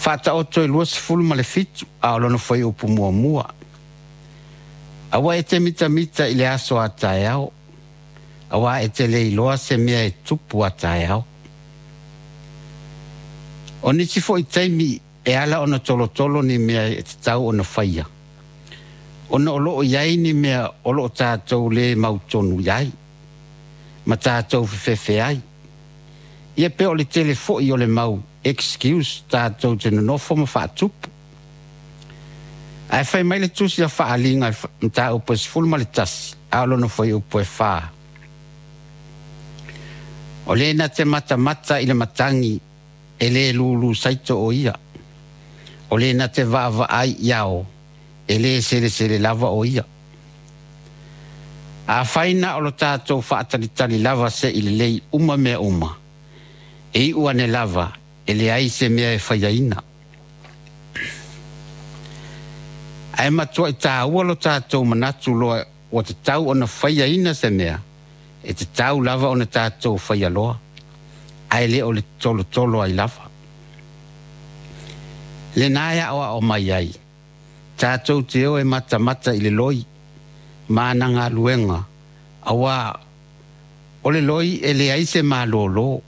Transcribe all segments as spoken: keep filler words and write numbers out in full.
Faataoto e luasefulu ma le fitu a o lona fuaiupu muamua. Aua e te mitamita i le aso a taeao, auā e te le iloa se mea e tupu a taeao. O nisi foi taimi e ala ona tolotolo ni mea e tatau ona faia, ona o loo i ai ni mea o loo tatou le mautonu i ai, ma tatou fefefe ai. Ia pe o le tele foi o le mau excuse tatou te nonofo ma faatupu. Ae fai mai le tusi a Faaaliga i mataupu e sefulu ma le tasi a o lona fuaiupu e fa. O le na te matamata i le matagi e le lulu saito o ia. O le na te vaavaai i ao e le selesele lava o ia. Afai na o lo tatou faatalitali lava se'i lelei uma mea uma, e iu ane lava e leai se mea e faiaina. Ae matuai tāua lo tatou manatu loa ua tatau ona faiaina se mea, e tatau lava ona tatou faia loa, ae le o le tolotolo ai lava. Lena e aoao mai ai, tatou te o e matamata i le loi ma ana galuega, auā o le loi e leai se malōlō,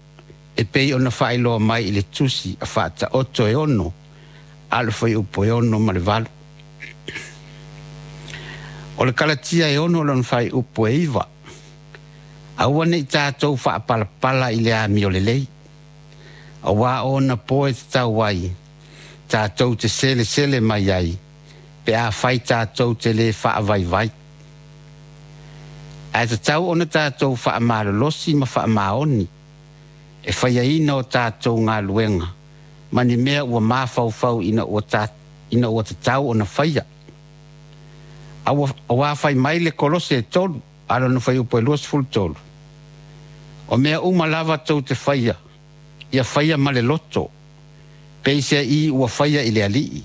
e pei ona faailoa mai i le tusi a Faataoto e ono a o le fuaiupu e ono ma le valu. O le Kalatia e ono lona fuaiupu e iva. Aua nei tatou faapalapala i le amio lelei, auā o ona po e tatau ai tatou te selesele mai ai, pe afai tatou te le faavaivai. Ae tatau ona tatou faamalolosi ma faamaoni e faiaina o tatou galuega ma ni mea ua mafaufau ina ua, ta, ina ua tatau ona faia. Auā fai mai le Kolose e tolu, a lona fuaiupu e luasefulu tolu. O mea uma lava tou te faia, ia faia ma le loto, peiseai ua faia i le Alii,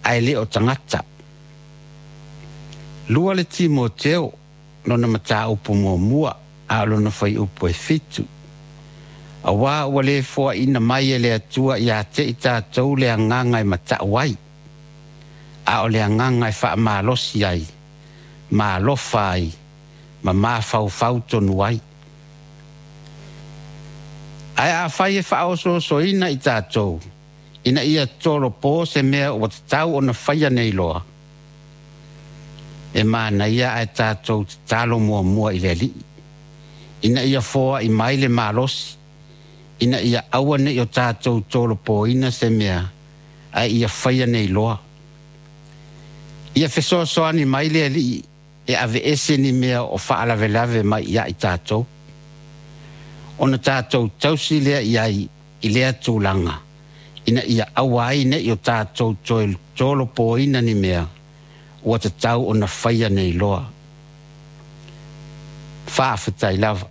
ae le o tagata. Lua le Timoteo, lona mataupu muamua, a o lona fuaiupu e fitu. Auā ua le foaina mai e le Atua ia te i tatou le agaga e matau ai, a o le agaga e faamalosi ai, ma alofa ai, ma mafaufau tonu ai. Ae afai e faaosoosoina i tatou, ina ia tolopo se mea ua tatau ona faia nei loa, e manaia ae tatou tatalo muamua i le Alii, ina ia foai mai le malosi, ina ia aua nei o tatou tolopoina se mea, ae ia faia nei loa. Ia fesoasoani mai le Alii e aveese ni mea o faalavelave mai ia i tatou, ona tatou tausi lea i ai i lea tulaga, ina ia aua ai nei o tatou toe tolopoina ni mea ua tatau ona faia nei loa. Faafetai lava.